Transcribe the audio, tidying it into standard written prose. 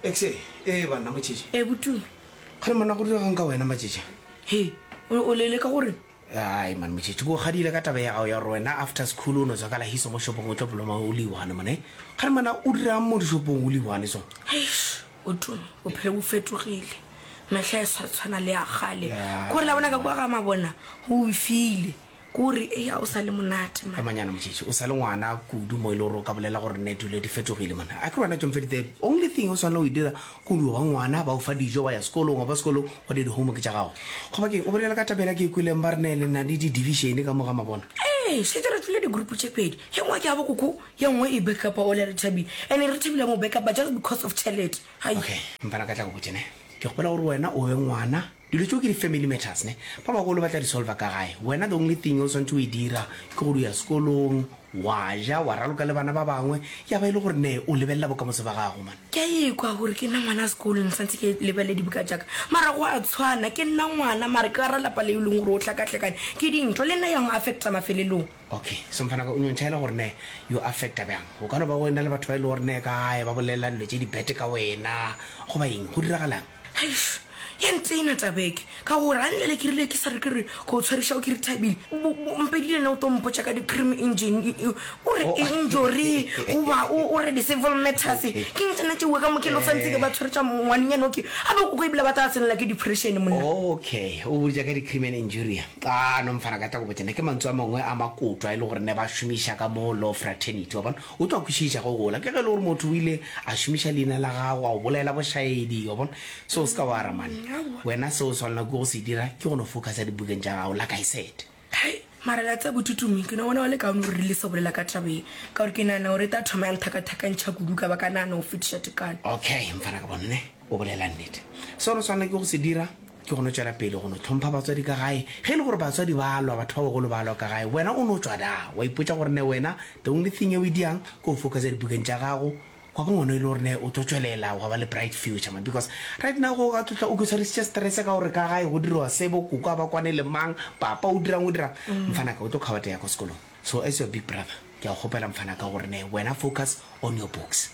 Exe, ee banna Motšhetše. Ee Botumi. Kgane monna go diregang ka wena Matšetše? He, o, o lele ka gore? Ai man Motšhetše, ke o kgadile ka taba ya gago ya gore wena after school o no tswa ka la hiso mo shopong o tlo bloma o le one man. Kgane mana o dirang mo dishopong o le one so? Eish, Botumi, bophelo bo fetogile. Mehla e sa tshwana le ya kgale. Ke gore la bona ka kwa ga mabona go befile. Ke gore eya o sa le monate man. Emanyana Motšhetši, o sa le ngwana kudu mo e le gore o ka bolela gore ne dilo di fetogile man. A ke re wena Tšomfedi the only thing o swanela go e dira ke go dio ba ngwana, ba o fa dijo wa ya sekolong, wa ba sekolong wa dira di-homework tša gago. Goba keng o bolela ka taba yela ke e kweleng ba re ne le na le di-division ka mo ga mabona? Ee, šetše re tšwele di-group tše pedi, ye nngwe ke ya bo koko, ye nngwe e backupa ole Rethabile. And Rethabile a mo backupa just because of tšhelete. Hai. Okay, mfana ka tla go botše ne. Ke kgopela gore wena o be ngwana Dilo tšeo ke di family matters ne, ba bagolo ba tla di solver ka gae. Wena the only thing o swantše o e dira ke gore o ya sekolong, wa ja, wa raloka le bana ba bangwe, ya ba e le gore ne o lebelela bokamoso ba gago man. Ke a ekwa gore ke nna ngwana sekolo ne santse ke lebelele dibuka tša ka, mara go a tshwana, ke nna ngwana mara ke gara lapa le e leng gore o hlakahlakane ke dintho, le nna ya ng affecta mafelelong. Okay, so mfanaka o nyo ntšhaela gore ne yo affecta bjang? Go ka no ba go ena le batho ba e le gore ne ka gae ba bolela dilo tše di bad ka wena goba eng, go diragalang? Eish, ya ntena taba e ke, ka gore a nlele ke rile ke sa re ke re ko tshwariša o ke re thabile. Mpedi le yena o tlo mpotša ka di-cream engine, o re injury goba o re di-civil matters. Ke eng tsona tšeo ka mo ke lo santse ke ba tshwaretša ngwanenyana o ke, a be koko ebile ba tla tsenela ke depression monna. Okay, o boditša ka di-cream and injury. A no mfana ka tla go botša ne ke mantswe a mangwe a makoto a e le gore ne ba šomiša ka mo law fraternity, wa bona. O tlo a kwešiša ge o gola. Ke ge e le gore motho o ile a šomiša leina la gago a o bolaela bošaedi, wa bona. So o se ka wa ra man. Wena se o swanela ke go se dira ke go no focusa dibukeng tša gago like I said. Hai, mara la tseba Botutumi, ke no bona go le kaone gore re lese go bolela ka taba ye, ka gore ke nagana gore e tla thoma ya nthakathakantšha kudu ka ba ka nagana go fetiša tekano. Okay, mfana ka bona ne o bolela nnete. Se o no swanela ke go se dira ke go no tšwela pele go no hlompha batswadi ka gae. Ge e le gore batswadi ba lwa, batho ba bagolo ba lwa ka gae, wena o no tšwa da, wa ipotša gore ne wena the only thing e o e diang ke go focusa dibukeng tša gago, wa ba ngwana e le gore ne o tlo tšwelela wa ba le bright future man. Because right now go ka tlotla o ke tshwarisitše stress ka gore ka gae go diriwa se, bo koko a ba kwane le mang, papa o dirang o dirang. Mfanaka o tlo kgabatega ko sekolong. So as your big brother, ke a go kgopela mfanaka gore ne wena focus on your books.